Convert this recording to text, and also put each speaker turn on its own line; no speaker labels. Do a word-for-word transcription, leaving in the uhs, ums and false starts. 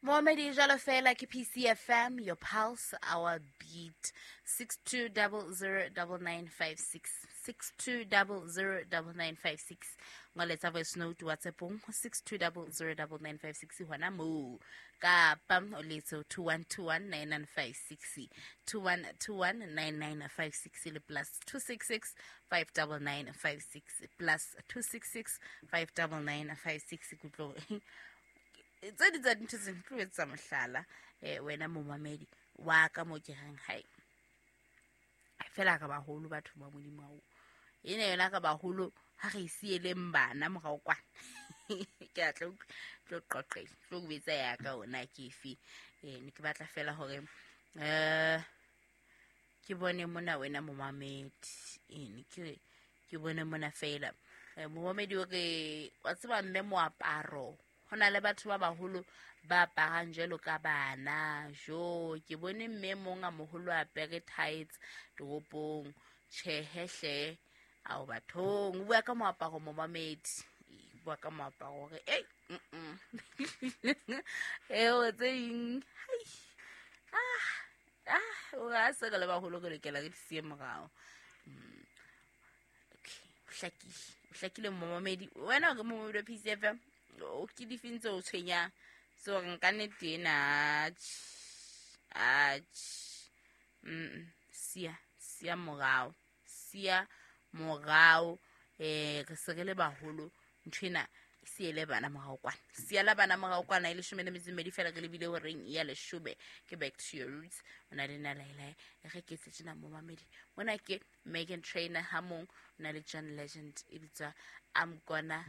Momedi jalo fela ke P C F M, your pulse, our beat. Six two double zero double nine five six, six two double zero double nine five six. Ngoletsa voice note WhatsApp-ong six two double zero double nine five six hona moo. Kapa o letse two one two one nine nine five six, two one two one nine nine five six le plus two six six five double nine five six, plus two six six five double nine five six. Kutlo tse di tsa dintho tse tlo etsa mohlala, eh, wena momamedi wa ka mo ke reng hai fela ka baholo batho ba Modimo ao ene yona ka baholo ha re sieleng bana morao kwana. Ke a tlo tlo qoqela tlo betsa ya ka ona ke efe. Eh, ne ke batla fela hore, eh, ke bone mona wena momamedi. Eh, ne ke ke bone mona fela. Eh, momamedi o re wa tseba mme moaparo ho na le batho ba baholo ba aparang jwalo ka bana. Jo, ke bone mme mong a moholo a apere tights toropong. Tjhehe hle, ao bathong. O bua ka moaparo momamedi. O bua ka moaparo hore, ei, mm-mm. Eo tse ding, hai. Ah, ah, o re ha se re le baholo re lokela re di siye morao. Mm. Okay, o hlakile. O hlakile momamedi. Wena o re momamedi wa P C F M, o ke difeng tse o tshwenyang? So re nka nnete ena, atjhe, atjhe. Mm-mm. Siya, siya morao, siya morao. Eh, re se re le baholo, nthwena e siele bana morao kwana. Siela bana morao kwana, e leshome le metso e mmedi fela re lebile horeng ya leshome. Ke back to your roots. O na le nna Laelae. E re ke etse tjena momamedi. Mona ke Meghan Trainor ha mong, o na le John Legend, e bitswa I'm Gonna.